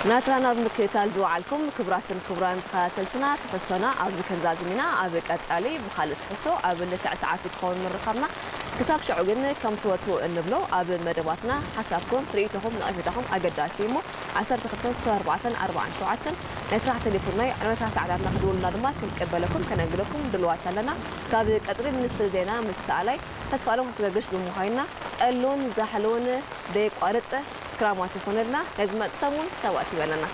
ናትና ናብ ምክትታል ዝወዓልኩም ክቡራትን ክቡራን ተኸታተልትና፣ ትሕዝቶና ኣብዚ ክንዛዝም ኢና። ኣብ ቀጻሊ ብኻልእ ትሕዝቶ ኣብ ልክዕ ሰዓቱ ክኸውን ምርኻብና። ክሳብ ሽዑ ግን ከምቲ ወትሩ እንብሎ፣ ኣብ መደባትና ሓሳብኩም፣ ርእይቶኹም፣ ነቐፌታኹም ኣገዳሲ እዩ እሞ፣ ዓሰርተ ክልተ ስሳ ኣርባዕተ ኣርባዓን ሸውዓተን ናይ ስራሕ ቴሌፎንና እዩ። ዕለታ ሰዓታትና ክድውሉና ድማ ክንቅበለኩም ከነንግደኩም ድሉዋት ኣለና። ካብ ቀጽሪ ሚኒስትሪ ዜና ምስ ሰኣላይ ተስፋኣለም ክገግሽ ብምዃንና፣ ጠሉን ዛሕሉን ደየቋርጽ ክራማት ይኹንልና። ናይ ዝመጽእ ሰሙን ሰብኣት ይበለና።